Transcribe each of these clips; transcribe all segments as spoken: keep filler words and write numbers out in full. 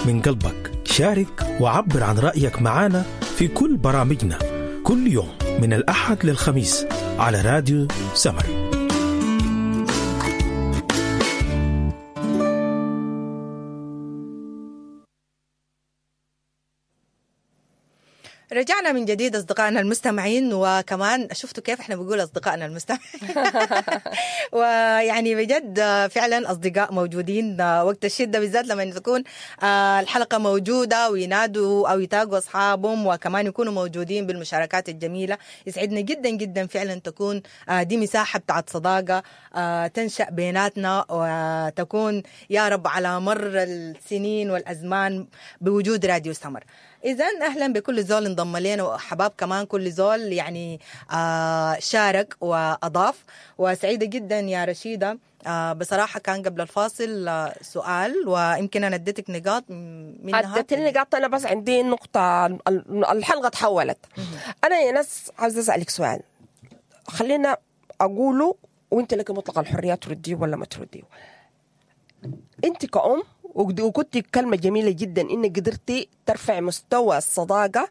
من قلبك، شارك وعبر عن رأيك معنا في كل برامجنا كل يوم من الأحد للخميس على راديو سمر. رجعنا من جديد أصدقائنا المستمعين، وكمان شفتوا كيف احنا بنقول أصدقائنا المستمعين ويعني بجد فعلا أصدقاء موجودين وقت الشدة، بالذات لما تكون الحلقة موجودة وينادوا أو يتاقوا أصحابهم وكمان يكونوا موجودين بالمشاركات الجميلة. يسعدنا جدا جدا فعلا تكون دي مساحة بتاعت صداقة تنشأ بيناتنا وتكون يا رب على مر السنين والأزمان بوجود راديو سمر. إذن أهلا بكل زول انضم لنا، وحباب كمان كل زول يعني آه شارك وأضاف. وسعيدة جدا يا رشيدة، آه بصراحة كان قبل الفاصل آه سؤال، ويمكن أنا اديتك نقاط منها. اديتني نقاط، أنا بس عندي نقطة، الحلقة تحولت. أنا يا ناس عاوزة أسألك سؤال، خلينا أقوله وأنت لك مطلق الحرية ترديه ولا ما ترديه. أنت كأم وكنت كلمة جميلة جدا إنك قدرتي ترفع مستوى الصداقة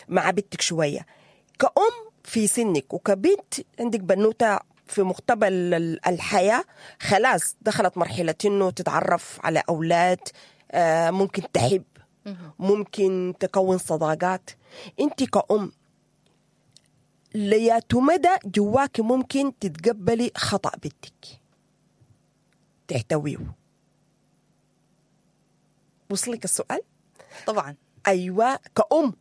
مع بنتك شوية. كأم في سنك وكبنت عندك بنوتة في مقتبل الحياة، خلاص دخلت مرحلة إنه تتعرف على أولاد، ممكن تحب، ممكن تكون صداقات. أنت كأم لياتو مدى جواك ممكن تتقبلي خطأ بنتك تحتويه؟ وصلك السؤال؟ طبعا ايوه، كأم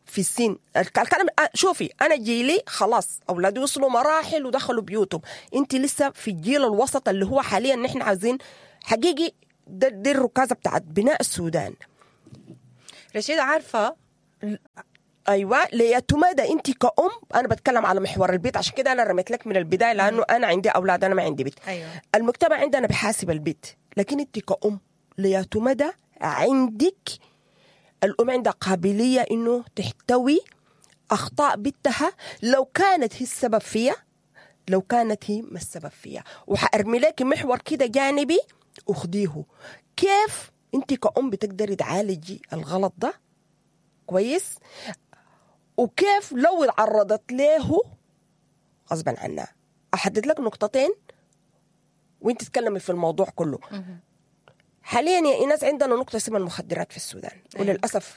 في السن الكلام. شوفي انا جيلي خلاص اولادي وصلوا مراحل ودخلوا بيوتهم، انت لسه في الجيل الوسط اللي هو حاليا نحن عايزين حقيقي ده دي الركازه بتاعت بناء السودان. رشيدة عارفه ايوه ليتمادى انت كأم. انا بتكلم على محور البيت، عشان كده انا رميت لك من البداية لانه انا عندي اولاد، انا ما عندي بيت. أيوة. المجتمع عندنا بحاسب البيت، لكن انت كأم ليتمادى عندك الأم عندها قابلية إنه تحتوي أخطاء بنتها لو كانت هي السبب فيها، لو كانت هي ما السبب فيها. وحأرمي لك محور كده جانبي أخديه، كيف أنت كأم بتقدري تعالجي الغلط ده كويس، وكيف لو تعرضت له غصبا عنها. أحدد لك نقطتين وانت تتكلمي في الموضوع كله. حاليا يا إيناس عندنا نقطة اسمها المخدرات في السودان. أيوة. وللأسف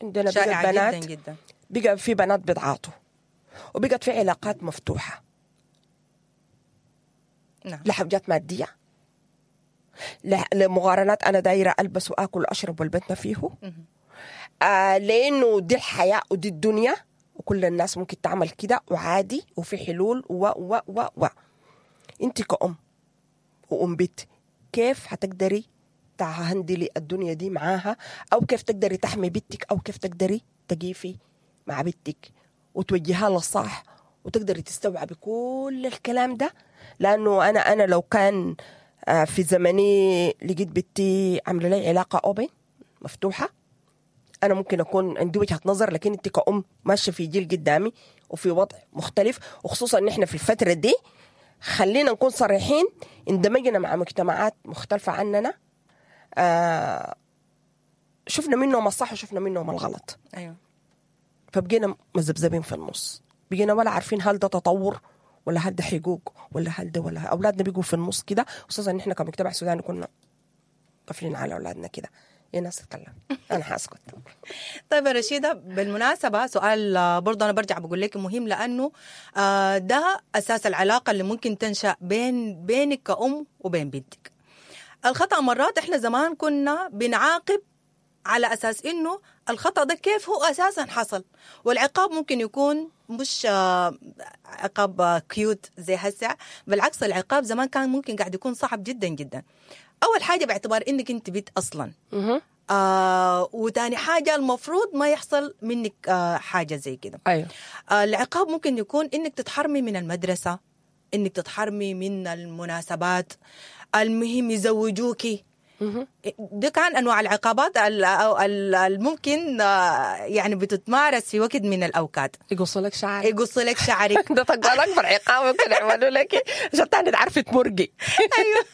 عندنا بقى بنات جداً جداً. بقى في بنات بيتعاطوا، وبقت في علاقات مفتوحة. نعم. لحاجات مادية، لمقارنات، أنا دايرة ألبس وآكل وأشرب والبيت ما فيه، آه لأنه دي الحياة ودي الدنيا وكل الناس ممكن تعمل كده وعادي وفي حلول و و و و أنت كأم وأم بيت كيف هتقدري تهندلي الدنيا دي معاها، أو كيف تقدري تحمي بنتك، أو كيف تقدري تقيفي مع بنتك وتوجهها للصح وتقدري تستوعبي كل الكلام ده؟ لأنه أنا أنا لو كان في زمني لقيت بنتي عاملة لي علاقة أوبن مفتوحة، أنا ممكن أكون عندي وجهة نظر، لكن أنت كأم ماشية في جيل قدامي وفي وضع مختلف، وخصوصا إن إحنا في الفترة دي خلينا نكون صريحين اندمجنا مع مجتمعات مختلفة عننا، آه شفنا منهم الصح وشفنا منهم الغلط. أيوة. فبقينا مزبزبين في النص، بقينا ولا عارفين هل ده تطور ولا هل ده حقوق ولا هل ده ولا أولادنا بيقوا في النص كده، خصوصا إن إحنا كمجتمع سوداني كنا قافلين على أولادنا كده. يا ناس تتكلم أنا حاسكت. طيب يا رشيدة، بالمناسبة سؤال برضه أنا برجع بقول لك مهم، لأنه ده أساس العلاقة اللي ممكن تنشأ بين بينك كأم وبين بنتك. الخطأ مرات إحنا زمان كنا بنعاقب على أساس إنه الخطأ ده كيف هو أساسا حصل، والعقاب ممكن يكون مش عقاب كيوت زي هسه، بالعكس العقاب زمان كان ممكن قاعد يكون صعب جدا جدا. أول حاجة باعتبار إنك أنت بنت أصلا، آه وتاني حاجة المفروض ما يحصل منك آه حاجة زي كده. أيوه. آه العقاب ممكن يكون إنك تتحرمي من المدرسة، إنك تتحرمي من المناسبات، المهم يزوجوكي. ده كان انواع العقابات الممكن يعني بتتمارس في وقت من الاوقات. يقصوا لك شعرك، يقصوا لك شعرك ده طبعا اكبر عقاب ممكن يعملوا لك عشان تاني تعرفي تمرقي. ايوه.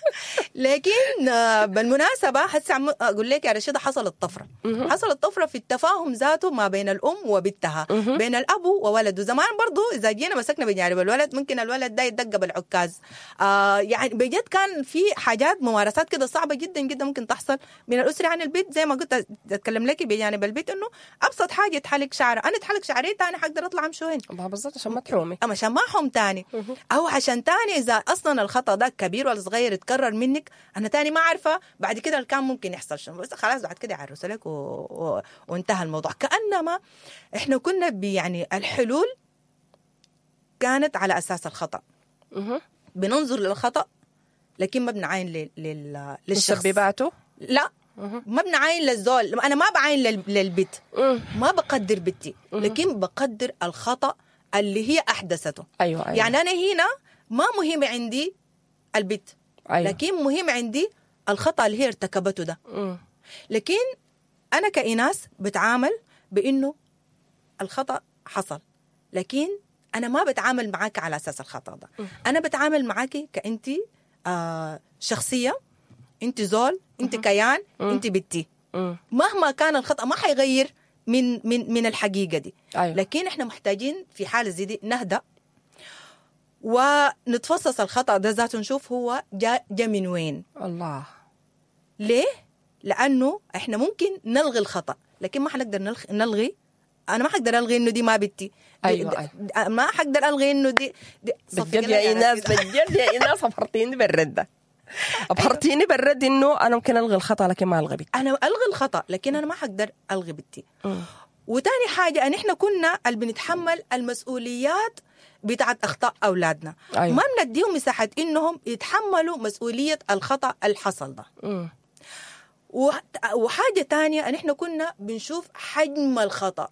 لكن بالمناسبة هسه اقول لك يا رشيده حصلت طفرة، حصلت طفرة في التفاهم ذاته ما بين الام وبنتها، بين الاب وولده. زمان برضو اذا جينا مسكنا بجانب الولد ممكن الولد ده يدق بالعكاز، آه يعني بجد كان في حاجات ممارسات كده صعبة جدا جدا ممكن تحصل من الاسرة عن البيت. زي ما قلت اتكلم لك بجانب البيت انه ابسط حاجة تحلق شعره، انا اتحلق شعري تاني حقدر اطلع امشي وين؟ بالضبط عشان ما تحومي، اما عشان ما احوم تاني، او عشان تاني اذا اصلا الخطا ده كبير ولا صغير اتكرر منك انا تاني ما عارفه بعد كده اللي كان ممكن يحصل شنو، بس خلاص بعد كده يعرسوا لك و... و... وانتهى الموضوع. كانما احنا كنا يعني الحلول كانت على اساس الخطا، بننظر للخطا لكن ما بنعاين لل... لل... للشخص مسبباته. لا ما بنعاين للزول، انا ما بعاين لل... للبيت، ما بقدر بنتي لكن بقدر الخطا اللي هي احدثته. أيوة أيوة. يعني انا هنا ما مهم عندي البيت، أيوة. لكن مهم عندي الخطا اللي هي ارتكبته ده. لكن انا كإناس بتعامل بانه الخطا حصل، لكن انا ما بتعامل معاك على اساس الخطا ده. انا بتعامل معاك كأنتي آه شخصية، انت زول، انت كيان، انت بنتي. مهما كان الخطا ما حيغير من من من الحقيقة دي. أيوة. لكن احنا محتاجين في حاله زي دي نهدأ ونتفصص الخطا ده ذاته، نشوف هو جا, جا من وين. الله ليه؟ لانه احنا ممكن نلغي الخطا لكن ما حنقدر نلغي، انا ما حقدر الغي انه دي ما بنتي. ايوه, أيوة. ما حقدر الغي انه دي, دي. بجد يا ايناس، بجد يا ايناس ابهرتيني بالرد ده، ابهرتيني بالرد انه انا ممكن الغي الخطا لكن ما الغي بنتي. انا الغي الخطا لكن انا ما حقدر الغي بنتي. وتاني حاجة ان احنا كنا اللي بنتحمل المسؤوليات بتاعت اخطاء اولادنا. أيوة. ما بنديهم مساحة انهم يتحملوا مسؤولية الخطا اللي حصل ده. وحاجه تانية ان احنا كنا بنشوف حجم الخطا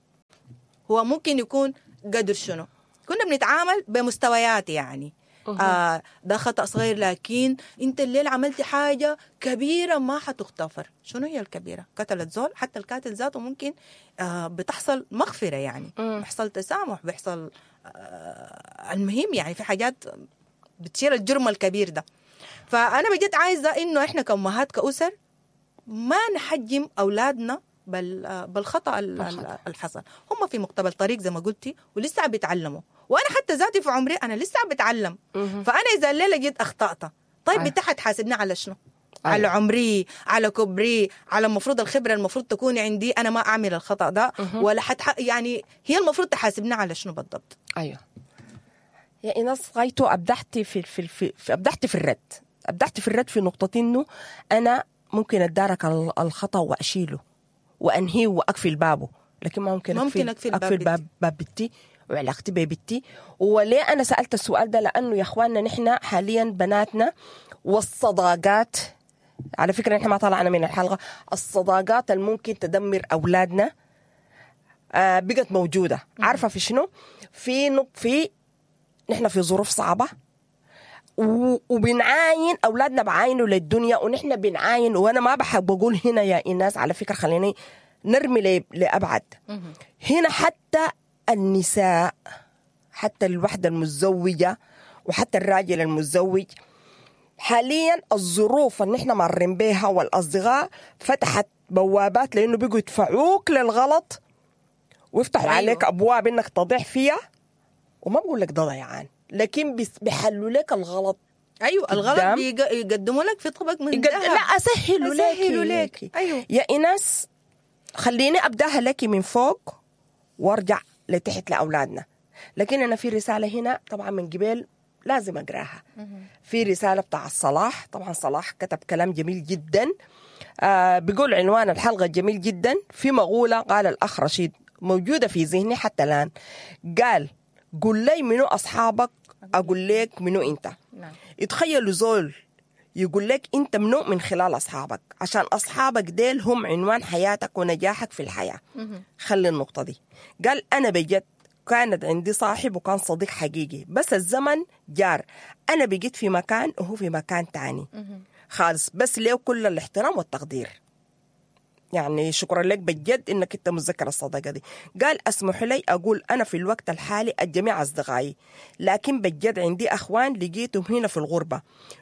هو ممكن يكون قدر شنو، كنا بنتعامل بمستويات يعني. آه ده خطأ صغير لكن انت الليل عملتي حاجة كبيرة ما حتغتفر. شنو هي الكبيرة؟ قتلت زول، حتى القاتل ذاته ممكن آه بتحصل مغفرة يعني، بيحصل تسامح، بيحصل آه المهم يعني في حاجات بتشيل الجرم الكبير ده. فأنا بجد عايزة إنه إحنا كأمهات كأسر ما نحجم أولادنا بال بالخطأ الحصل. هم في مقتبل طريق زي ما قلتي ولسه عم بيتعلموا، وانا حتى ذاتي في عمري انا لسه عم بتعلم. فانا اذا الليلة جيت اخطأت، طيب انت حتحاسبني على شنو؟ أيوة. على عمري، على كبري، على المفروض الخبرة المفروض تكون عندي انا ما اعمل الخطأ ده ولا حتح... يعني هي المفروض تحاسبني على شنو بالضبط؟ ايوه يا ايناس، غايتو ابدعتي في في, في, في ابدعتي في الرد، ابدعتي في الرد في نقطة انه انا ممكن اتدارك الخطأ واشيله وانهيه واقفل بابه، لكن ما ممكن ممكن اقفل اقفل باب باب بنتي وعلاقتي ببنتي. وليه انا سالت السؤال ده؟ لانه يا اخواننا نحن حاليا بناتنا والصداقات، على فكرة نحن ما طلعنا من الحلقة، الصداقات الممكن تدمر اولادنا آه بقت موجودة. عارفه في شنو؟ في نق في نحن في ظروف صعبة وبنعاين اولادنا، بعاينوا للدنيا ونحن بنعاين. وانا ما بحب اقول هنا يا ايناس على فكرة، خليني نرمي لابعد هنا، حتى النساء، حتى الوحدة المتزوجة وحتى الراجل المتزوج، حاليا الظروف اللي نحن مارين بيها والأصدقاء فتحت بوابات، لأنه بيجوا يدفعوك للغلط ويفتحوا أيوه. عليك أبواب إنك تضيع فيها، وما بقول لك ده ضيعان، لكن بيحلوا لك الغلط. ايوه الغلط بيقدموا لك في طبق من ذهب. لا اسهلوا لك، اسهلوا لك. ايوه يا ايناس، خليني ابداها لك من فوق وارجع لتحت لاولادنا. لكن انا في رسالة هنا طبعا من قبل لازم اقراها. في رسالة بتاع صلاح، طبعا صلاح كتب كلام جميل جدا، آه بيقول عنوان الحلقة جميل جدا، في مقولة قال الاخ رشيد موجودة في ذهني حتى الان، قال قل لي منو اصحابك اقول لك منو انت. نعم. يتخيلوا زول يقول لك انت منو من خلال اصحابك، عشان اصحابك ديل هم عنوان حياتك ونجاحك في الحياة. خلي النقطة دي. قال انا بجد كانت عندي صاحب وكان صديق حقيقي، بس الزمن جار، انا بقيت في مكان وهو في مكان تاني. خالص، بس ليه كل الاحترام والتقدير. يعني شكرا لك بجد انك انت متذكر الصداقة دي. قال اسمح لي اقول انا في الوقت الحالي الجميع اصدقائي، لكن بجد عندي اخوان لقيتهم هنا في الغربة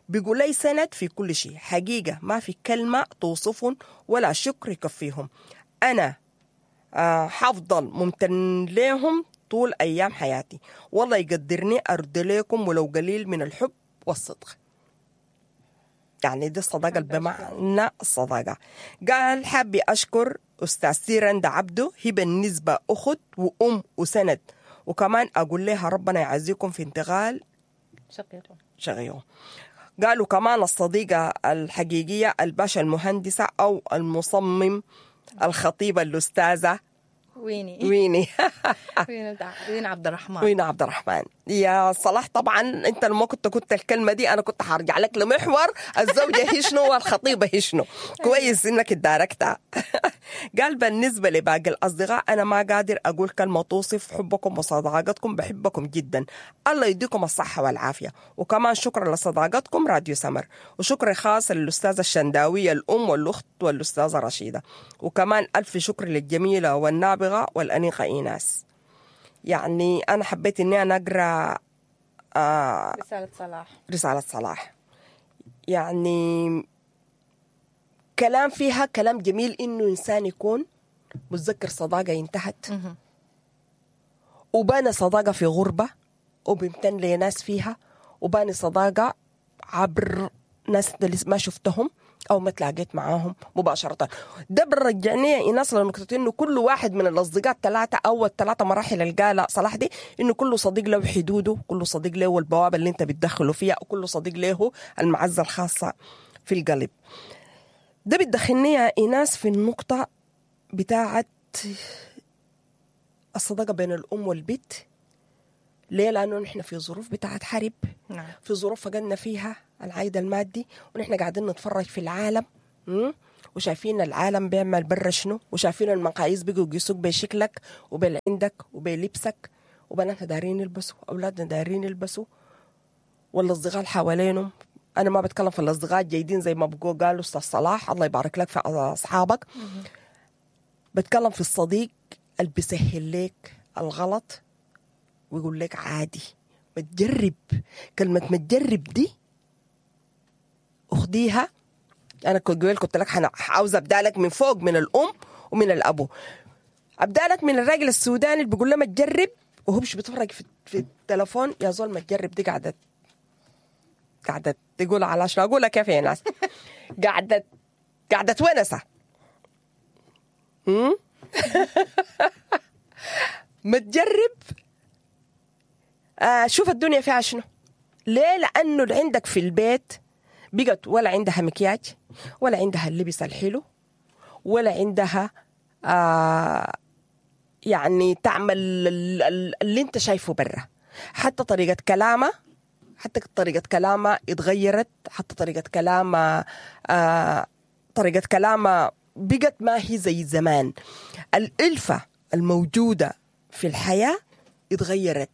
بيقول لي سند في كل شيء، حقيقة ما في كلمة توصفهم ولا شكر يكفيهم. انا آه حفضل ممتن لهم طول ايام حياتي، والله يقدرني ارد لكم ولو قليل من الحب والصدق. يعني دي الصداقة بمعنى الصداقة. قال حابي أشكر أستاذ سيرندا عبده، هي بالنسبة أخت وأم وسند، وكمان أقول لها ربنا يعزيكم في انتقال شقيقه شقيقه. قالوا كمان الصديقة الحقيقية الباشا المهندسة أو المصمم الخطيبة الأستاذة ويني ويني وين عبد الرحمن. وين عبد الرحمن يا صلاح. طبعا انت لما كنت كنت الكلمة دي انا كنت حرجع لك لمحور الزوجة هي شنو والخطيبه هي شنو. كويس انك اتداركتها. قال بالنسبة لباقي الاصدقاء انا ما قادر اقول كلمة توصف حبكم وصداقتكم، بحبكم جدا، الله يديكم الصحة والعافية. وكمان شكرا لصداقتكم راديو سمر، وشكر خاص للاستاذه الشنداويه الام والاخت والاستاذه رشيده، وكمان الف شكر للجميله والنابغه والأنيقة إيناس. يعني أنا حبيت إني أنا أقرأ آه رسالة صلاح. رسالة صلاح يعني كلام فيها كلام جميل، إنه إنسان يكون متذكر صداقة انتهت وباني صداقة في غربة وبيمتن لناس فيها، وباني صداقة عبر ناس ما شفتهم أو ما تلاقيت معاهم مباشرة. ده برجعني يا إيناس لنقطة إنه كل واحد من الأصدقاء الثلاثة أو الثلاثة مراحل القالة صلاح دي، إنه كل صديق له حدوده، كل صديق له البوابة اللي أنت بتدخله فيها، وكل صديق له المعزة الخاصة في القلب. ده بتدخلني يا إيناس في النقطة بتاعة الصداقة بين الأم والبيت. ليه؟ لأنه نحن في ظروف بتاعة حرب، نعم. في ظروف فقدنا فيها العائد المادي، ونحن قاعدين نتفرج في العالم وشايفين العالم بيعمل برا شنو، وشايفين المقاييس بيجوا يقيسوك بشكلك وبالعندك وبلبسك، وبناتنا دارين يلبسوا، أولادنا دارين يلبسوا، والأصدقاء اللي حوالينهم. أنا ما بتكلم في الأصدقاء الجيدين زي ما بقوا قالوا أستاذ صلاح الله يبارك لك في أصحابك، بتكلم في الصديق اللي بيسهل لك الغلط ويقول لك عادي ما تجرب. كلمة ما تجرب دي أخديها. أنا كنت قلت لك عاوزة أبدأ لك من فوق، من الأم ومن الأبو. أبدأ لك من الراجل السوداني اللي بيقول له ما تجرب وهو مش بيتفرج في, في التلفون. يا زول ما تجرب دي قاعدة قاعدة تقول على شنو أقولها كيف يا ناس، قاعدة قاعدة ونسة ما تجرب. آه شوف الدنيا فيها شنو. ليه؟ لأنه اللي عندك في البيت بقت ولا عندها مكياج، ولا عندها اللبس الحلو، ولا عندها آه يعني تعمل اللي انت شايفه برا. حتى طريقة كلامها، حتى طريقة كلامها اتغيرت، حتى طريقة كلامها آه طريقة كلامها بقت ما هي زي زمان. الألفة الموجودة في الحياة اتغيرت.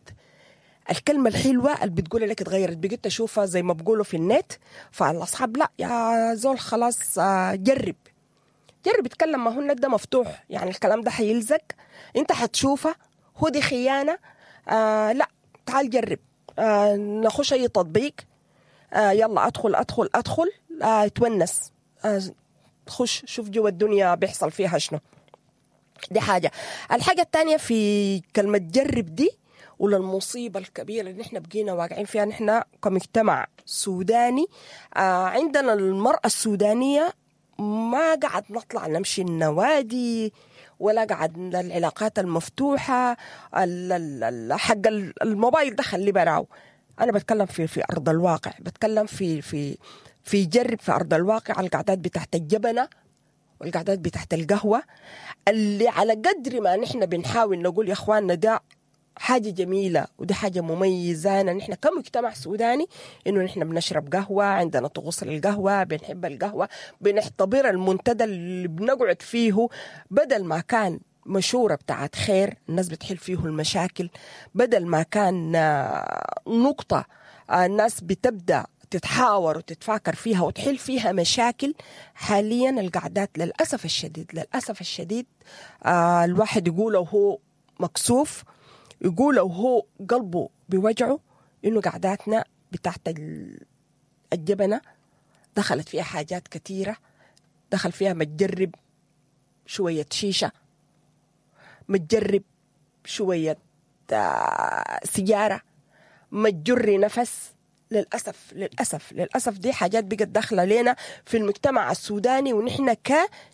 الكلمة الحلوة اللي بتقول لك اتغيرت، بقيت أشوفها زي ما بقولوا في النت. فالأصحاب لا يا زول خلاص جرب جرب اتكلم، ما هو النت ده مفتوح، يعني الكلام ده حيلزق، انت حتشوفه، هو دي خيانة. آه لا تعال جرب، آه نخش أي تطبيق، آه يلا أدخل أدخل أدخل، آه تونس، آه خش شوف جوا الدنيا بيحصل فيها شنو. دي حاجة. الحاجة الثانية في كلمة جرب دي، ولا المصيبة الكبيرة اللي نحن بقينا واقعين فيها نحن كمجتمع سوداني، آه عندنا المرأة السودانية ما قعد نطلع نمشي النوادي، ولا قعد العلاقات المفتوحة، حق الموبايل ده خلي براو. أنا بتكلم في في أرض الواقع، بتكلم في في في جرب في أرض الواقع، القعدات بتاعت الجبنة والقعدات بتاعت القهوة، اللي على قدر ما نحن بنحاول نقول يا إخواننا ده حاجة جميلة ودي حاجة مميزة نحن كمجتمع سوداني، إنه نحن بنشرب قهوة، عندنا طقوس القهوة، بنحب القهوة، بنحتضر المنتدى اللي بنقعد فيه بدل ما كان مشورة بتاعت خير الناس بتحل فيه المشاكل، بدل ما كان نقطة الناس بتبدأ تتحاور وتتفاكر فيها وتحل فيها مشاكل. حاليا القعدات للأسف الشديد للأسف الشديد آه الواحد يقول وهو مكسوف، يقول وهو قلبه بوجعه، إنه قعداتنا بتاعت الجبنة دخلت فيها حاجات كثيرة، دخل فيها متجرب شوية شيشة، متجرب شوية سيجارة، متجري نفس. للأسف للأسف للأسف دي حاجات بقت داخلة لنا في المجتمع السوداني، ونحن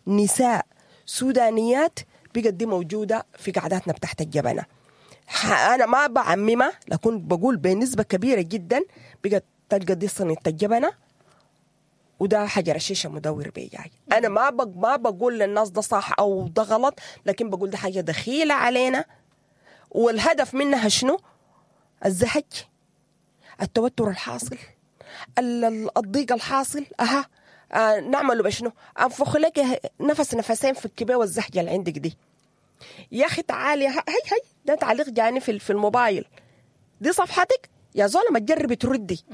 كنساء سودانيات بقت دي موجودة في قعداتنا بتاعت الجبنة. أنا ما بعممها، لكن بقول بنسبة كبيرة جدا بقت تلقى دي صينية الجبنة وده حجر الشيشة مدور بيجاي. أنا ما بق ما بقول للناس ده صح أو ده غلط، لكن بقول ده حاجة دخيلة علينا، والهدف منها شنو؟ الزهج، التوتر الحاصل، الضيق الحاصل. أها آه نعمله بشنو؟ أنفخ لك نفس نفسين في الكبه والزهجة اللي عندك دي. يا أخي تعالي، هاي هاي ده تعليق جاني في في الموبايل، دي صفحتك يا زولة، ما تجربي تردي.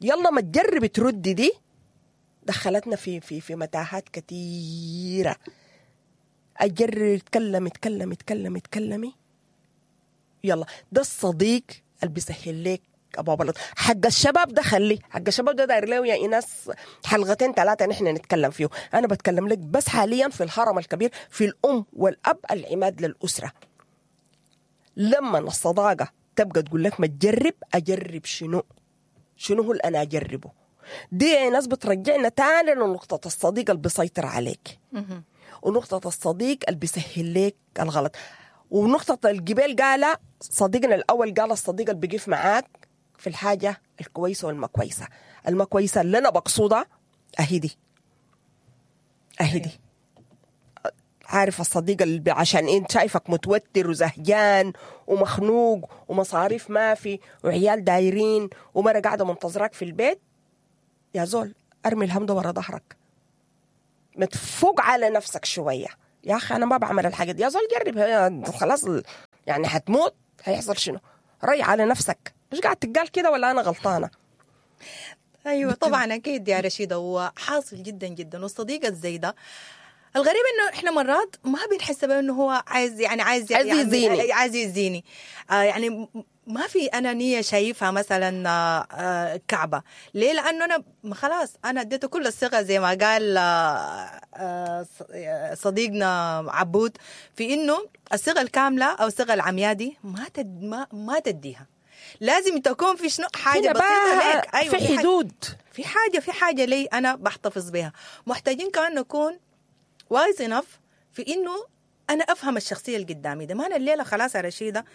يلا ما تجربي تردي. دي دخلتنا في في في متاهات كثيرة. أجرب اتكلم اتكلم اتكلم اتكلمي، يلا ده الصديق اللي بيسهل لك ابو بلد. حق الشباب ده خليه، حق الشباب ده داير له يا ايناس حلقتين ثلاثة نحن نتكلم فيه. انا بتكلم لك بس حاليا في الهرم الكبير، في الام والاب العماد للاسرة. لما الصداقة تبقى تقول لك ما تجرب، اجرب شنو؟ شنو هو اللي انا اجربه؟ دي ناس بترجعنا تاني لنقطة الصديق اللي بيسيطر عليك، ونقطة الصديق اللي بيسهل لك الغلط، ونقطة الجبال قال صديقنا الأول، قال الصديق اللي بيقف معاك في الحاجة الكويسة والما كويسة. الما كويسة اللي أنا بقصدها أهي دي، أهي دي. عارف الصديق اللي عشان انت شايفك متوتر وزهجان ومخنوق ومصاريف ما في وعيال دايرين ومرة قاعدة منتظرك في البيت، يا زول ارمي الهم ده ورا ظهرك، ما تفوق على نفسك شوية. يا أخي أنا ما بعمل الحاجة دي. يا زول جرب، خلاص يعني هتموت، هيحصل شنو؟ ري على نفسك. مش قاعد تقال كده ولا أنا غلطانة؟ أيوة طبعا أكيد يا رشيدة، وحاصل جدا جدا. والصديق الزي ده الغريب انه احنا مرات ما بنحس بانه هو عايز، يعني عايز عايز يزيني، عايز يزيني. آه يعني ما في انا نيه شايفها مثلا آه كعبه. ليه؟ لانه انا خلاص انا اديته كل الثقة زي ما قال آه صديقنا عبود، في انه الثقة الكاملة او الثقة العمياء دي ما تد ما, ما تديها. لازم تكون في شنو حاجة بسيطة لك، ايوه في حدود، في حاجة في حاجة لي انا بحتفظ بها. محتاجين كمان نكون wise enough في انه انا افهم الشخصية اللي قدامي ده. ما انا الليلة خلاص يا رشيده،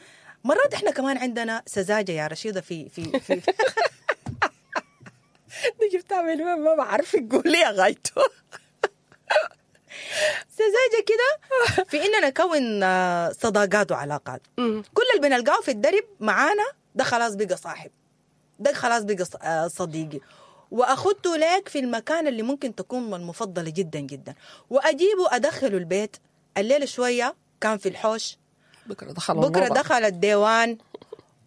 مرات احنا كمان عندنا سذاجة يا رشيده في في في دي جبتها من وين ما بعرف قولي يا غايته. سذاجة كده في اننا نكون صداقات وعلاقات. كل اللي بنلقاه في الدرب معانا ده خلاص بقى صاحب، ده خلاص بقى صديقي، واخدته لك في المكان اللي ممكن تكون المفضلة جدا جدا، واجيبه ادخله البيت. الليلة شوية كان في الحوش، بكره دخل بكره دخل الديوان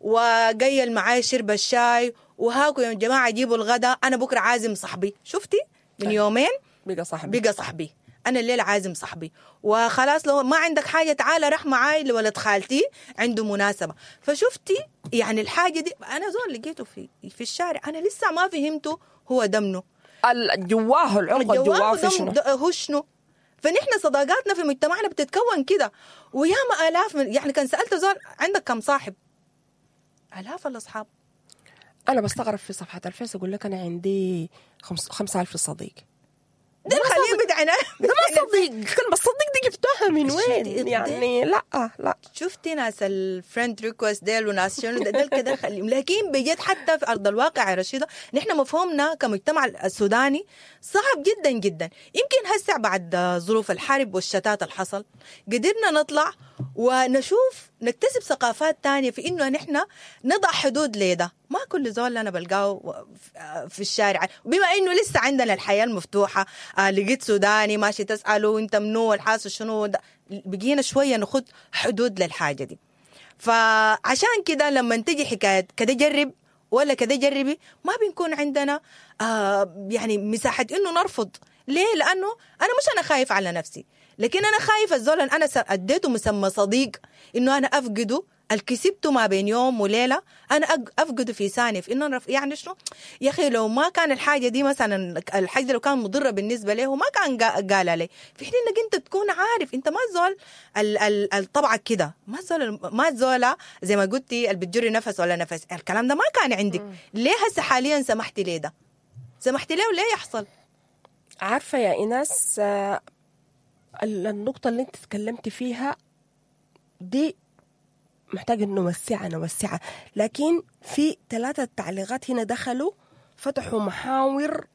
وقيل معاي شرب الشاي، وهاكو يا جماعة جيبوا الغداء، انا بكره عازم صاحبي. شفتي من يومين بقى صاحبي، بقى صاحبي، انا الليلة عازم صاحبي، وخلاص لو ما عندك حاجة تعالى راح معاي لولد خالتي عنده مناسبة. فشفتي يعني الحاجة دي انا زول لقيته في في الشارع، انا لسه ما فهمته هو دمنه جواه، العمق جواه في شنو، هو شنو. فنحن صداقاتنا في مجتمعنا بتتكون كده، وياما الاف من يعني كان سالت زول عندك كم صاحب؟ الاف الاصحاب. انا بستغرب في صفحة الفيس اقول لك انا عندي خمس خمسة ألف صديق. ده خليه بدعنا، ده ما صديق. كلمة صديق دي جبتوها من وين يعني؟ لا لا شفتي ناس ال friend request ديل وناس شنو ديل كده خليهم، لكن بجد حتى في ارض الواقع يا رشيده نحن مفهومنا كمجتمع السوداني صعب جدا جدا. يمكن هسه بعد ظروف الحرب والشتات اللي حصل قدرنا نطلع ونشوف نكتسب ثقافات تانية في انه نحن نضع حدود لده. ما كل زول انا بلقاه في الشارع، بما انه لسه عندنا الحياة المفتوحة، آه لقيت سوداني ماشي تساله انت منو والحاصل شنو، بقينا شوية نخد حدود للحاجة دي. فعشان كده لما تجي حكاية كده جرب ولا كده جربي، ما بنكون عندنا آه يعني مساحة انه نرفض. ليه؟ لانه انا مش انا خايف على نفسي، لكن انا خايف الزول انا اديته مسمى صديق انه انا افقده الكسبته ما بين يوم وليلة، انا افقده في ثانية. في انه يعني شنو يا اخي، لو ما كان الحاجة دي مثلا، الحاجة دي لو كان مضرة بالنسبة له ما كان قالها لي. في حين انك انت تكون عارف انت ما زول الطبعك كده، ما زول ما زوله زي ما قلتي اللي بتجري نفس ولا نفس، الكلام ده ما كان عندك. م. ليه هسه حاليا سمحتي ليه ده؟ سمحتي ليه وليه يحصل؟ عارفه يا ايناس، النقطة اللي انت تكلمتي فيها دي محتاج انه نوسعها نوسعها، لكن في ثلاثة تعليقات هنا دخلوا فتحوا محاور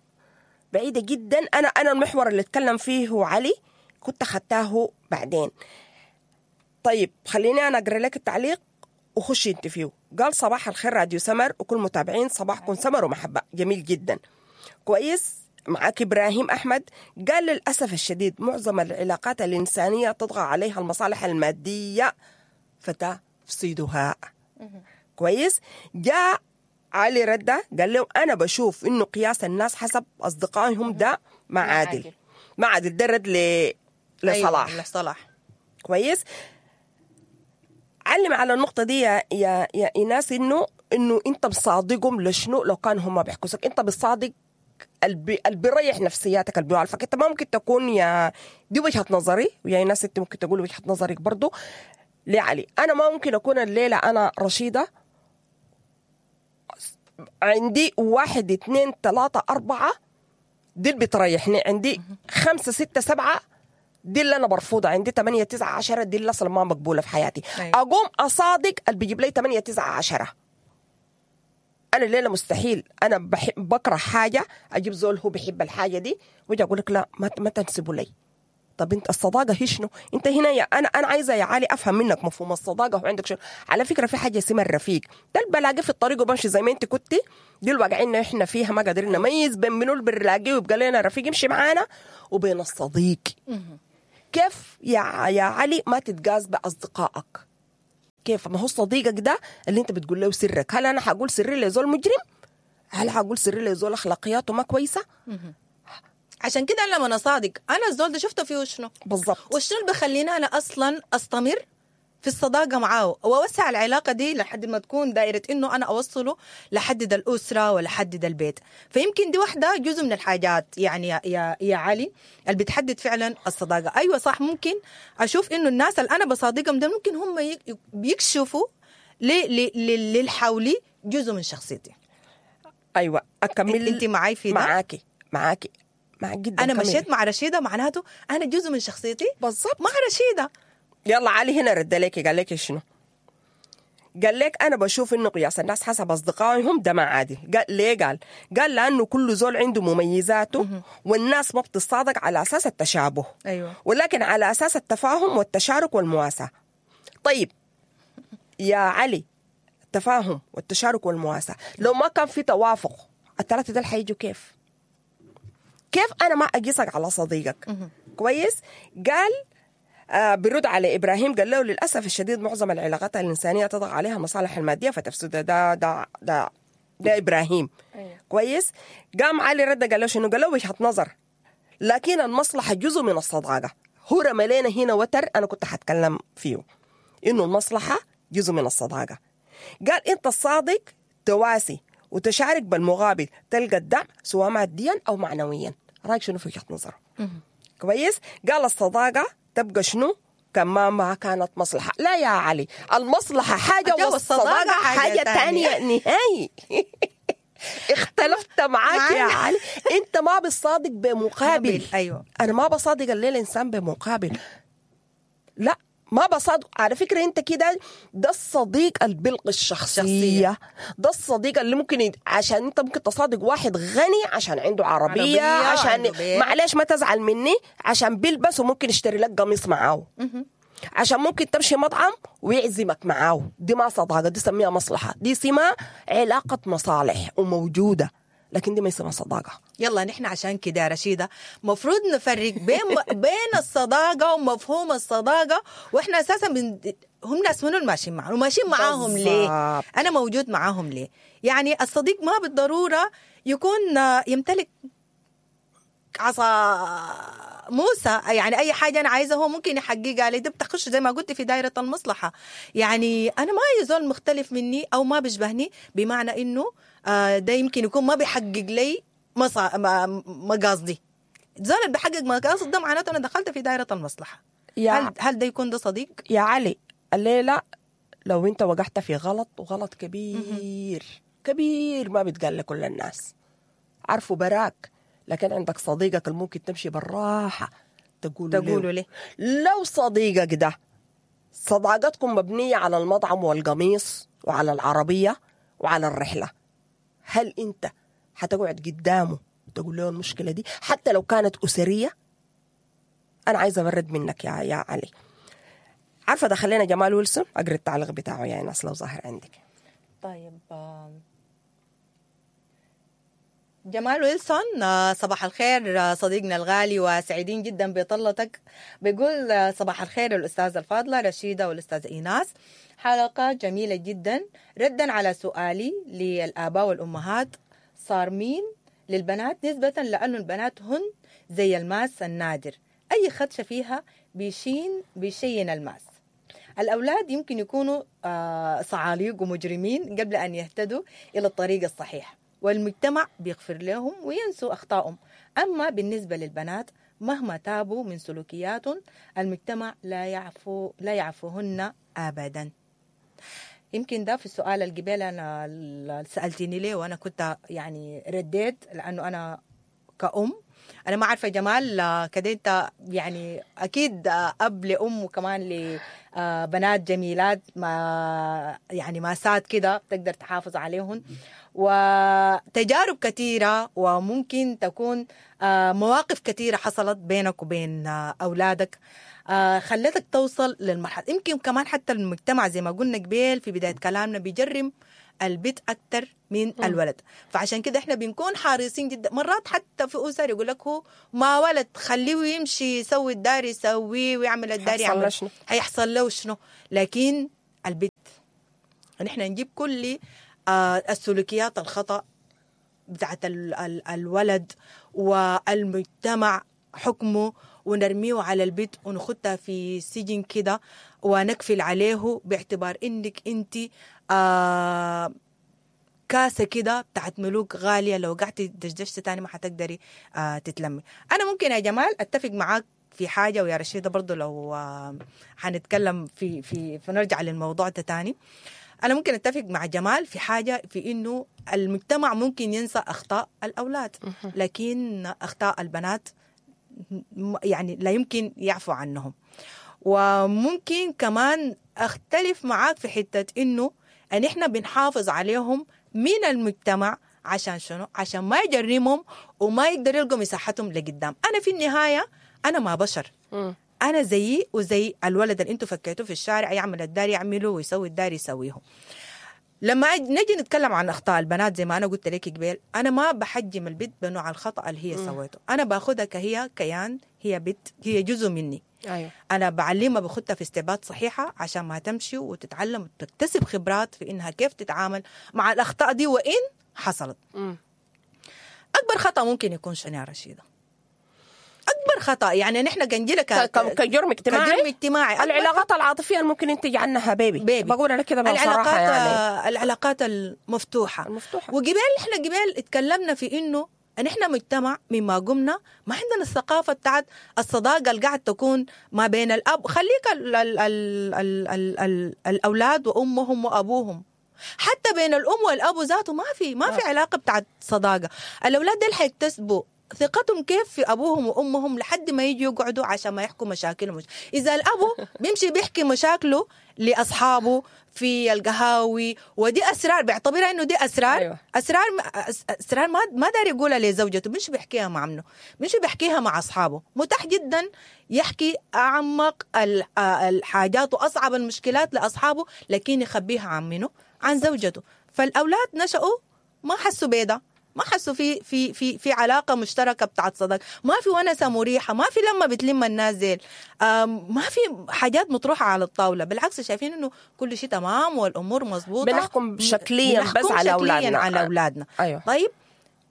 بعيدة جدا. انا انا المحور اللي اتكلم فيه علي كنت اخدتاه بعدين. طيب خليني انا اقرا لك التعليق وخشي انت فيه. قال صباح الخير راديو سمر وكل متابعين، صباحكم سمر ومحبة. جميل جدا، كويس. معاك إبراهيم أحمد قال للأسف الشديد معظم العلاقات الإنسانية تطغى عليها المصالح المادية فتفسدها. كويس. جاء علي ردة قال له أنا بشوف إنه قياس الناس حسب أصدقائهم ده ما عادل، ما عادل. ده رد ل... لصلاح. أيوة، لصلاح. كويس. علم على النقطة دي يا يا يا إيناس، إنه إنه أنت بصادقهم لشنو لو كان هم بيحكوا أنت بتصادق البي البيريح نفسياتك، اللي بيعرفك انت. ما ممكن تكون يا دي وجهة نظري، ويا ناس انت ممكن تقول وجهة نظرك برضو لعلي. انا ما ممكن اكون الليلة انا رشيدة عندي واحد اتنين تلاتة اربعة دي اللي بتريحني، عندي خمسة ستة سبعة دي اللي انا برفضها، عندي تمانية تسعة عشرة دي اللي اصلا ما مقبولة في حياتي. أيوة. اقوم اصادق اللي بيجيب لي تمانية تسعة عشرة. أنا الليلة مستحيل، أنا بحب بكره حاجة أجيب زول هو بيحب الحاجة دي ويجي أقول لك لا ما ما تنسبوا لي. طب أنت الصداقة هي شنو؟ أنت هنا يا أنا أنا عايزة يا علي أفهم منك مفهوم الصداقة هو عندك شنو؟ على فكرة في حاجة اسمها الرفيق، ده اللي بلاقيه في الطريق وبمشي زي ما أنت كنتي، دي اللي واقعين إحنا فيها ما قادرين نميز بين منو اللي بنلاقيه ويبقى لنا رفيق يمشي معانا وبين الصديق. كيف يا يا علي ما تتجاز بأصدقائك؟ كيف؟ ما هو صديقك ده اللي انت بتقول له سرك. هل انا حقول سري لزول مجرم؟ هل حقول سري لزول اخلاقياته ما كويسة؟ عشان كده انا لما اصادق انا الزول ده شفته فيه شنو بالضبط، وشنو اللي بخليني انا اصلا استمر في الصداقة معاه واوسع العلاقة دي لحد ما تكون دائرة انه انا اوصله لحد ده الاسرة ولحد ده البيت. فيمكن دي واحدة جزء من الحاجات يعني يا يا, يا علي اللي بتحدد فعلا الصداقة. ايوه صح، ممكن اشوف انه الناس اللي انا بصادقهم ده ممكن هم بيكشفوا للحولي جزء من شخصيتي. ايوه اكمل. انت معاي في ده؟ معاكي معاكي معاك جدا. انا مشيت مع رشيده معناته انا جزء من شخصيتي بالضبط مع رشيده. يلا علي هنا رد لك قال لك شنو؟ قال لك أنا بشوف إنه قياس الناس حسب أصدقائهم ده ما عادل. قال ليه؟ قال قال لأنه كل زول عنده مميزاته والناس ما بتصادق على أساس التشابه. أيوة. ولكن على أساس التفاهم والتشارك والمواساة. طيب يا علي، التفاهم والتشارك والمواساة لو ما كان في توافق الثلاثة دول حيجوا كيف؟ كيف أنا ما أقيسك على صديقك؟ كويس؟ قال آه برد على إبراهيم قال له للأسف الشديد معظم العلاقات الإنسانية تضغى عليها مصالح المادية فتفسد. ده ده ده ده إبراهيم. أيوة. كويس. قام علي رد قال له شنو؟ قال له وجهة نظر، لكن المصلحة جزء من الصداقة. هو رمى لنا هنا وتر أنا كنت حتكلم فيه، إنه المصلحة جزء من الصداقة. قال أنت الصادق تواسي وتشارك بالمقابل تلقى الدعم سواء ماديا أو معنويا. رأيك شنو في وجهة نظره؟ كويس. قال الصداقة تبقى شنو؟ كما ما كانت مصلحة. لا يا علي، المصلحة حاجة والصداقة حاجة تانية نهائي. اختلفت معاك يا علي. انت ما بتصادق بمقابل. ايوه، انا ما بصادق الليلة انسان بمقابل، لا ما بصادق. على فكرة انت كده ده الصديق البلق الشخصية، ده الصديق اللي ممكن يد... عشان انت ممكن تصادق واحد غني عشان عنده عربية, عربية عشان معلش ما تزعل مني عشان بيلبس وممكن يشتري لك قميص معاه، عشان ممكن تمشي مطعم ويعزمك معاه. دي ما صداقة، دي سميها مصلحة، دي سمها علاقة مصالح وموجودة، لكن دي ما يسمى صداقة. يلا نحن عشان كده يا رشيدة مفروض نفرق بين بين الصداقة ومفهوم الصداقة، واحنا اساسا بن... هم ناس منو الماشيين معاهم وماشيين معاهم ليه؟ انا موجود معاهم ليه؟ يعني الصديق ما بالضرورة يكون يمتلك عصا موسى، يعني اي حاجة انا عايزه هو ممكن يحققها لي. ده بتخش زي ما قلت في دائرة المصلحة. يعني انا ما اي زول مختلف مني او ما بيشبهني بمعنى انه ده يمكن يكون ما بيحقق لي مقاصدي. زول اللي بيحقق مقاصد ده معناته انا دخلت في دائرة المصلحة. يا هل هل ده يكون ده صديق؟ يا علي الليلة لو انت وقعت في غلط، وغلط كبير كبير ما بيتقال لكل الناس، عارفه براك، لكن عندك صديقك اللي ممكن تمشي بالراحة تقول تقوله ليه. لو صديقك ده صداقتكم مبنية على المطعم والقميص وعلى العربية وعلى الرحلة، هل انت هتقعد قدامه تقول له المشكلة دي حتى لو كانت أسرية؟ أنا عايزة أبرد منك يا يا علي. عارفة دخلنا جمال ويلسون، أقرأ التعليق بتاعه يا ناس لو ظاهر عندك. طيب جمال ويلسون، صباح الخير صديقنا الغالي وسعيدين جدا بطلتك. بيقول صباح الخير الأستاذة الفاضلة رشيدة والأستاذة إيناس، حلقة جميلة جدا. ردا على سؤالي للآباء والأمهات، صار مين للبنات نسبة لأنه البنات هن زي الماس النادر، أي خدشة فيها بيشين بيشين الماس. الأولاد يمكن يكونوا صعاليق ومجرمين قبل أن يهتدوا إلى الطريق الصحيح، والمجتمع بيغفر لهم وينسوا أخطائهم. أما بالنسبة للبنات مهما تابوا من سلوكياتهم المجتمع لا يعفو لا يعفوهن أبدا. يمكن ده في السؤال القبيل أنا سألتني ليه وأنا كنت يعني رديت، لأنه أنا كأم أنا ما عارفة جمال كده أنت يعني أكيد أب لأم وكمان لبنات جميلات ما يعني ماسات كده تقدر تحافظ عليهن، وتجارب كثيرة وممكن تكون مواقف كثيرة حصلت بينك وبين أولادك خلتك توصل للمرحلة. يمكن كمان حتى المجتمع زي ما قلنا قبيل في بداية كلامنا بيجرم البيت أكتر من الولد، فعشان كده احنا بنكون حريصين جدا. مرات حتى في أسر يقول لك هو ما ولد خليه يمشي يسوي الدار يسويه ويعمل الدار يعمل، هيحصل له شنو؟ لكن البيت نحن نجيب كل آه السلوكيات الخطأ بتاعت ال ال الولد والمجتمع حكمه ونرميه على البيت ونخدها في سجن كده ونكفل عليه باعتبار انك انت آه كاسة كده بتاعت ملوك غالية، لو قعدتي دشدشت تاني ما حتقدري آه تتلمي. أنا ممكن يا جمال أتفق معاك في حاجة، ويا رشيدة برضو لو آه حنتكلم في في فنرجع للموضوع ده تاني. أنا ممكن أتفق مع جمال في حاجة، في إنه المجتمع ممكن ينسى أخطاء الأولاد، لكن أخطاء البنات يعني لا يمكن يعفو عنهم. وممكن كمان أختلف معاك في حتة إنه أن إحنا بنحافظ عليهم من المجتمع عشان شنو؟ عشان ما يجرمهم وما يقدر يلقوا مساحتهم لقدام. أنا في النهاية أنا ما بشر، أنا زيي وزي الولد اللي أنتوا فكيتوه في الشارع يعمل الدار يعمله ويسوي الدار يسويه. لما نجي نتكلم عن أخطاء البنات زي ما أنا قلت لك قبل، أنا ما بحجم البنت بنوع الخطأ اللي هي سويته، أنا باخدها كهي كيان، هي بنت، هي جزء مني. أيوة. أنا بعلمها بخدها في استبات صحيحة عشان ما تمشي وتتعلم وتكتسب خبرات في إنها كيف تتعامل مع الأخطاء دي وإن حصلت. مم. أكبر خطأ ممكن يكون شنو يا رشيدة؟ أكبر خطأ يعني نحن كنجيلة ك... كجرم اجتماعي، كجرم اجتماعي العلاقات العاطفية ممكن ينتج عنها بيبي بيبي. بقول أنا كده بصراحة، يعني العلاقات المفتوحة المفتوحة. وقبل إحنا قبل اتكلمنا في إنه ان احنا مجتمع مما قمنا ما عندنا الثقافة بتاعت الصداقة اللي قاعد تكون ما بين الاب، خليك ال ال ال ال ال ال الاولاد وامهم وابوهم، حتى بين الام والاب ذاته ما في ما في علاقة بتاعت صداقه. الاولاد دول حيكتسبوا ثقتهم كيف في ابوهم وامهم لحد ما يجوا يقعدوا عشان ما يحكوا مشاكلهم. اذا الابو بيمشي بيحكي مشاكله لاصحابه في القهاوي، ودي اسرار بيعتبرها انه دي اسرار. أيوة. اسرار اسرار ما ما داري يقولها لزوجته، بيمشي بيحكيها مع عمه، بيمشي بيحكيها مع اصحابه. متاح جدا يحكي اعمق الحاجات واصعب المشكلات لاصحابه، لكن يخبيها عن منه؟ عن زوجته. فالاولاد نشأوا ما حسوا بيدا، ما حسوا في في في في علاقة مشتركة بتاعت صداقه، ما في ونسه مريحه، ما في لما بتلم الناس زيل، ما في حاجات مطروحة على الطاولة، بالعكس شايفين انه كل شيء تمام والامور مظبوطة. بنحكم شكليا بس بنحكم على شكلياً اولادنا. على اولادنا. ايوه. طيب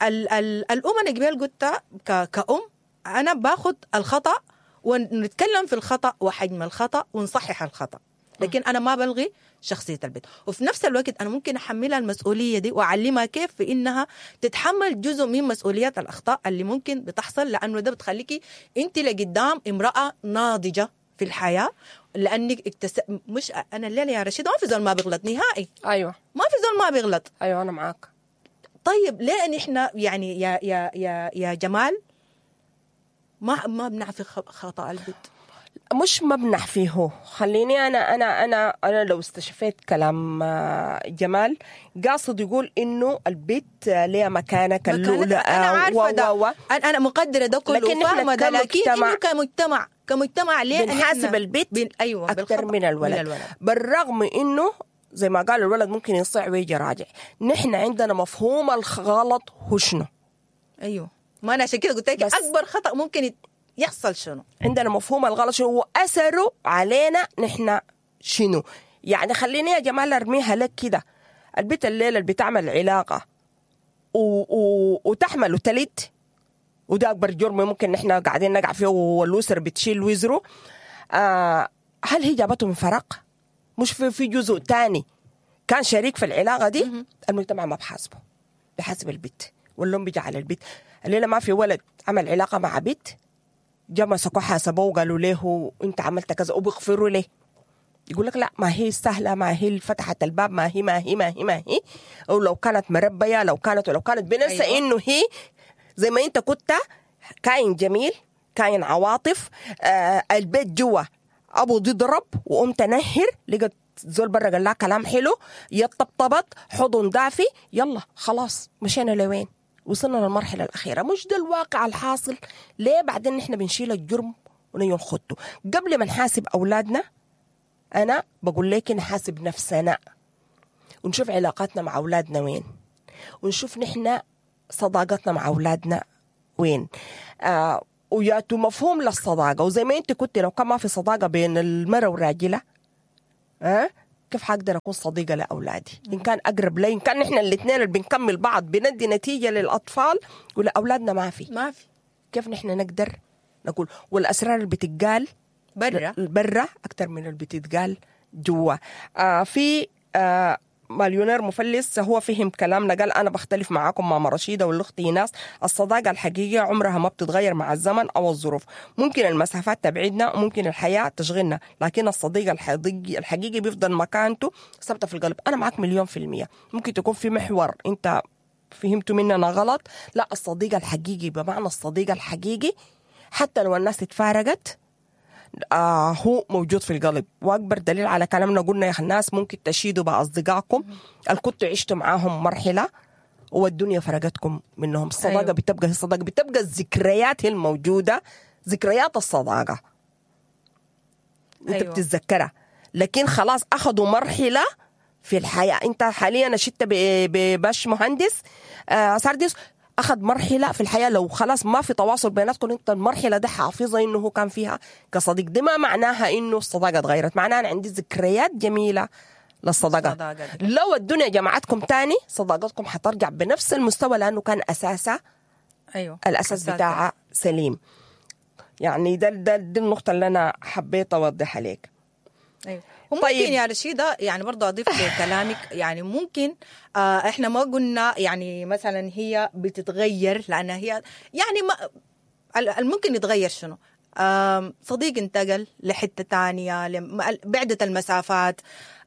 ال ال الام انا قبل قلت كأم انا باخد الخطأ ونتكلم في الخطأ وحجم الخطأ ونصحح الخطأ، لكن انا ما بلغي شخصية البنت، وفي نفس الوقت انا ممكن احملها المسؤولية دي واعلمها كيف في انها تتحمل جزء من مسؤوليات الاخطاء اللي ممكن بتحصل، لانه ده بتخليكي انت لقدام امراة ناضجة في الحياة، لانك اكتس... مش انا الليلة يا رشيد ما في زول ما بيغلط نهائي. ايوه ما في زول ما بيغلط. ايوه انا معاك. طيب ليه نحن يعني يا يا يا يا جمال ما ما بنعرف خطأ البنت؟ مش مبنح فيه. خليني انا انا انا انا لو استشفيت كلام جمال قاصد يقول انه البيت ليه مكانه كاللؤلؤه. انا عارفه ده و... انا مقدره ده كله وفاهمه ده، لكن انه كمجتمع كمجتمع ليه بنحاسب البيت بن... ايوه اكثر من الولد. من الولد، بالرغم انه زي ما قال الولد ممكن يصيع ويجي راجع. نحن عندنا مفهوم الغلط هو شنو. ايوه ما انا عشان كده قلت لك اكبر خطأ ممكن يحصل شنو. عندنا مفهوم الغلط شنو واثره علينا نحن شنو. يعني خليني يا جمال ارميها لك كده، البيت الليلة اللي بتعمل علاقة و... و... وتحمل وتلد، وده اكبر جرم ممكن نحن قاعدين نقع فيه والاسر بتشيل وزره. آه هل هي جابته من فراغ؟ مش في في جزء تاني كان شريك في العلاقة دي؟ المجتمع ما بحاسبه، بحاسب البيت واللوم بيجي على البيت. الليلة ما في ولد عمل علاقة مع بيت جا مسكوه حاسبوه وقالوا له انت عملت كذا وبيغفروا ليه. يقول لك لا ما هي سهلة، ما هي فتحت الباب، ما هي ما هي ما هي ما هي، او لو كانت مربيه، لو كانت ولو كانت. بننسى أيوة. انه هي زي ما انت كنت كائن جميل، كائن عواطف، آه البيت جوا ابو ضرب وام تنهر، لقت زول برا قال لها كلام حلو، يطبطبط، حضن دافي، يلا خلاص مشينا لوين؟ وصلنا للمرحلة الأخيرة. مش ده الواقع الحاصل؟ ليه بعدين نحن بنشيل الجرم ونيجي نخطه؟ قبل ما نحاسب أولادنا أنا بقول لك نحاسب نفسنا ونشوف علاقاتنا مع أولادنا وين، ونشوف نحن صداقتنا مع أولادنا وين، آه وياتو مفهوم للصداقة. وزي ما أنت كنت لو كان ما في صداقة بين المرأة والراجلة أه؟ كيف حقدر أكون صديقة لأولادي؟ إن كان أقرب لي، إن كان نحن الاثنين اللي بنكمل بعض بندي نتيجة للأطفال، ولأولادنا ما في ما في كيف نحن نقدر نقول؟ والأسرار اللي بتتقال برا برا أكتر من اللي بتتقال جوا. آه في آه مليونير مفلس هو فهم كلامنا، قال أنا بختلف معاكم ماما رشيدة والأخت إيناس، الصداقة الحقيقية عمرها ما بتتغير مع الزمن أو الظروف، ممكن المسافات تبعدنا وممكن الحياة تشغلنا، لكن الصديق الحقيقي, الحقيقي بيفضل مكانته ثابتة في القلب. أنا معاك مليون في المية. ممكن تكون في محور أنت فهمته مننا غلط، لا الصديق الحقيقي بمعنى الصديق الحقيقي حتى لو الناس اتفارقت آه هو موجود في القلب. وأكبر دليل على كلامنا قلنا يا الناس ممكن تشيدوا بأصدقائكم اللي كنتوا عشتوا معاهم مرحلة والدنيا فرقتكم منهم. الصداقة أيوه. بتبقى الصداقة، بتبقى الذكريات هي الموجودة، ذكريات الصداقة أنت أيوه. بتتذكرها، لكن خلاص أخذوا مرحلة في الحياة. أنت حاليا شدت بباش مهندس آه سارديس، أخذ مرحلة في الحياة، لو خلاص ما في تواصل بيناتكم أنت المرحلة دي حافظة إنه هو كان فيها كصديق. دي ما معناها إنه الصداقة اتغيرت، معناها أنا عندي ذكريات جميلة للصداقة. لو الدنيا جمعتكم تاني صداقتكم حترجع بنفس المستوى، لأنه كان أساسها أيوه. الأساس بتاعها سليم. يعني ده ده دي النقطة اللي أنا حبيت أوضحها لك. أيوه. وممكن طيب. يا رشيدة يعني برضو أضيف لكلامك، يعني ممكن آه إحنا ما قلنا يعني مثلا هي بتتغير، لأنها هي يعني ما الممكن يتغير شنو؟ آه صديق انتقل لحتة تانية، بعدت المسافات،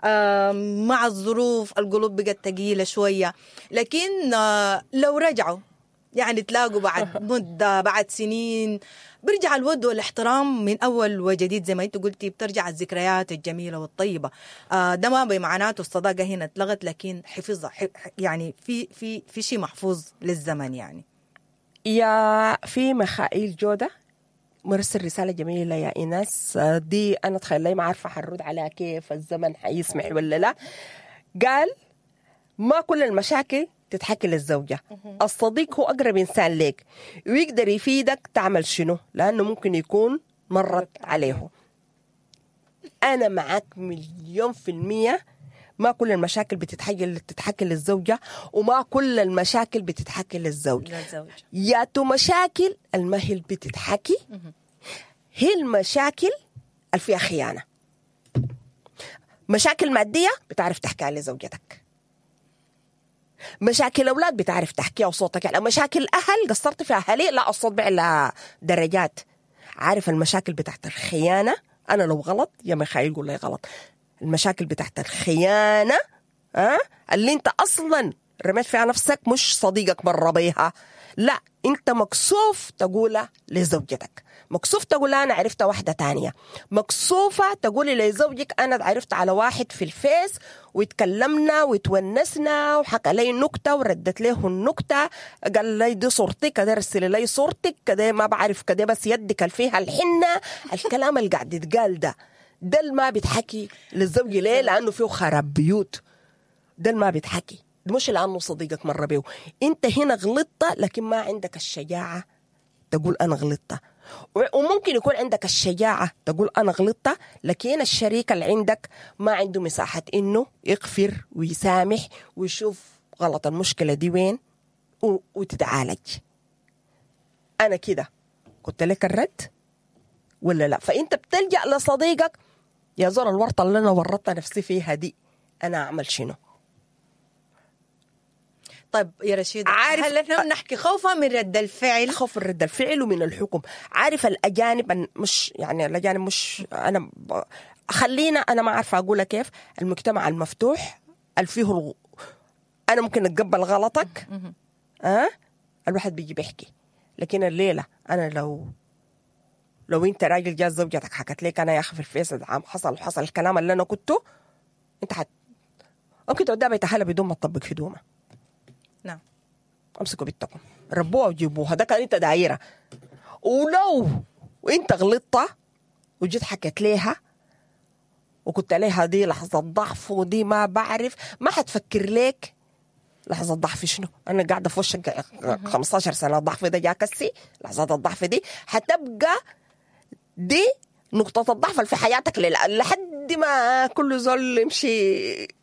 آه مع الظروف القلوب بقت ثقيلة شوية، لكن آه لو رجعوا يعني تلاقوا بعد مدة بعد سنين برجع الود والاحترام من أول وجديد. زي ما أنت قلتي بترجع الذكريات الجميلة والطيبة. آه ده ما بمعناته الصداقة هنا اتلغت، لكن حفظها يعني في في في شيء محفوظ للزمن. يعني يا في ميخائيل جودة مرسل رسالة جميلة يا إيناس، دي أنا تخيل لي ما عارفة حرد عليها كيف، الزمن حيسمح ولا لا. قال ما كل المشاكل تتحكي للزوجة. الصديق هو اقرب انسان ليك ويقدر يفيدك تعمل شنو، لانه ممكن يكون مرت عليه. انا معك مليون في المية، ما كل المشاكل بتتحكي بتتحكي للزوجة، وما كل المشاكل بتتحكي للزوج. للزوج. ياتو مشاكل الما هي بتتحكي؟ هي المشاكل اللي فيها خيانة. مشاكل مادية بتعرف تحكيها لزوجتك، مشاكل أولاد بتعرف تحكيها وصوتك يعني، مشاكل أهل قصرت في أهلي، لا الصوت بيعلى درجات. عارف المشاكل بتاعت الخيانة، أنا لو غلط يا ميخائيل قول لي غلط، المشاكل بتاعت الخيانة أه؟ اللي انت أصلا رميت فيها نفسك، مش صديقك مر بيها، لا انت مكسوف تقولها لزوجتك، مكسوف تقول انا عرفت واحدة تانية، مكسوفه تقولي لزوجك انا عرفت على واحد في الفيس واتكلمنا وتونسنا وحكى لي نكتة وردت له النكتة، قال لي دي صورتك كده، ارسلي لي صورتك كده، ما بعرف كده، بس يدك اللي فيها الحنة. الكلام اللي قاعد يتقال ده ده اللي ما بيتحكي للزوج. ليه؟ لانه فيه خراب بيوت. ده اللي ما بيتحكي، مش لانه صديقك مر بيه. انت هنا غلطت لكن ما عندك الشجاعة تقول انا غلطت، وممكن يكون عندك الشجاعة تقول انا غلطت لكن الشريك اللي عندك ما عنده مساحة انه يغفر ويسامح ويشوف غلط المشكلة دي وين وتتعالج. انا كده قلت لك الرد ولا لا؟ فانت بتلجأ لصديقك، يا زول الورطة اللي انا ورطت نفسي فيها دي انا اعمل شنو؟ طيب يا رشيد، عارف هل احنا بنحكي خوفا من رد الفعل؟ خوف من رد الفعل ومن الحكم. عارف الاجانب مش يعني الاجانب مش انا ب... خلينا انا ما عارفه اقولها كيف، المجتمع المفتوح اللي فيه الغ... انا ممكن اتقبل غلطك، أه؟ الواحد بيجي بيحكي. لكن الليلة انا لو لو انت راجل جاز زوجتك حكت لك انا يا اخي في الفيس عام حصل وحصل الكلام اللي انا كنته، انت حت ممكن توديها بيت اهلها بدون ما تطبق هدومها. نعم، امسكوا بنتكم ربوها وجيبوها، ده كان انت دايرة. ولو وانت غلطت وجيت حكيت ليها وكنت عليها دي لحظة ضعف ودي ما بعرف، ما حتفكر لك لحظة ضعف شنو؟ أنا قاعدة في وشك خمستاشر سنة، الضعف ده جاك هسي، لحظة الضعف دي حتبقى دي نقطة الضعف في حياتك لحد ما كل زول يمشي.